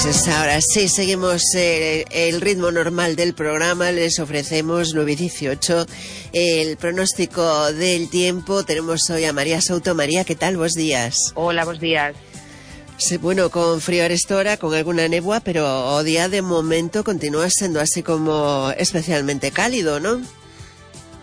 Pues ahora sí, seguimos el ritmo normal del programa. Les ofrecemos 9:18 el pronóstico del tiempo. Tenemos hoy a María Souto. María, ¿qué tal? Buenos días. Hola, buenos días. Sí, bueno, con frío a esta hora, con alguna nebua, pero o día de momento continúa siendo así como especialmente cálido, ¿no?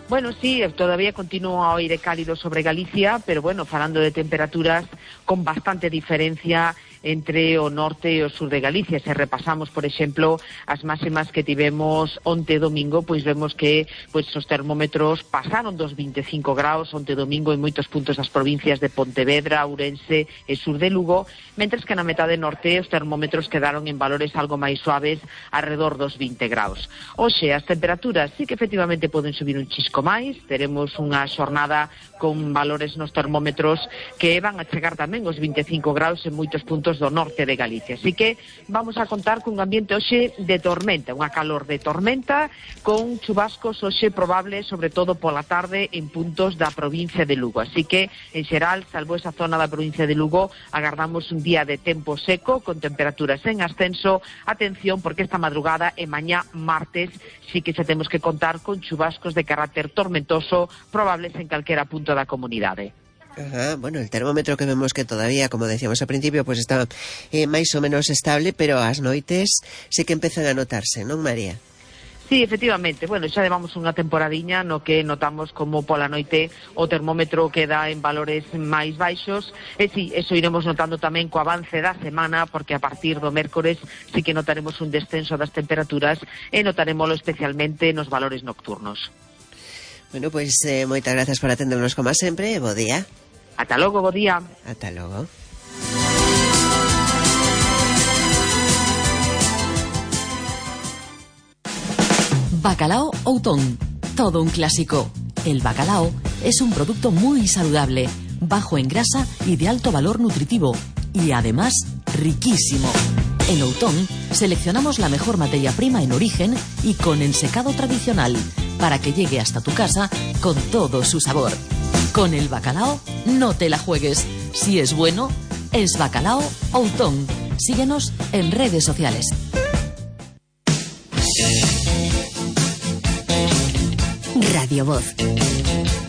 Bueno, sí, todavía continúa o aire cálido sobre Galicia, pero bueno, falando de temperaturas con bastante diferencia entre o norte e o sur de Galicia. Se repasamos, por exemplo, as máximas que tivemos onte domingo, pois vemos que os termómetros pasaron dos 25 graus onte domingo en moitos puntos das provincias de Pontevedra, Ourense e sur de Lugo, mentres que na metade norte os termómetros quedaron en valores algo máis suaves, alrededor dos 20 graus. Hoxe, as temperaturas sí que efectivamente poden subir un chisco máis, teremos unha xornada con valores nos termómetros que van a chegar tamén os 25 graus en moitos puntos do norte de Galicia. Así que vamos a contar cun ambiente hoxe de tormenta, unha calor de tormenta, con chubascos hoxe probables, sobre todo pola tarde, en puntos da provincia de Lugo. Así que, en xeral, salvo esa zona da provincia de Lugo, agardamos un día de tempo seco, con temperaturas en ascenso. Atención, porque esta madrugada e mañá martes sí que se temos que contar con chubascos de carácter tormentoso, probables en calquera punto da comunidade. Ajá, bueno, el termómetro que vemos que todavía, como decíamos al principio, pues está máis ou menos estable, pero as noites sí que empezan a notarse, non, María? Sí, efectivamente. Bueno, xa levamos unha temporadiña no que notamos como pola noite o termómetro queda en valores máis baixos. E sí, eso iremos notando tamén co avance da semana, porque a partir do mércores sí que notaremos un descenso das temperaturas e notarémoslo especialmente nos valores nocturnos. Bueno, pois moitas gracias por atendernos como sempre e bo día. Ata logo, bo día. Ata logo. Bacalao Outón, todo un clásico. El bacalao es un producto muy saludable, bajo en grasa y de alto valor nutritivo, y además riquísimo. En Outón seleccionamos la mejor materia prima en origen y con ensecado tradicional, para que llegue hasta tu casa con todo su sabor. Con el bacalao no te la juegues. Si es bueno, es Bacalao Outón. Síguenos en redes sociales. Radio Voz.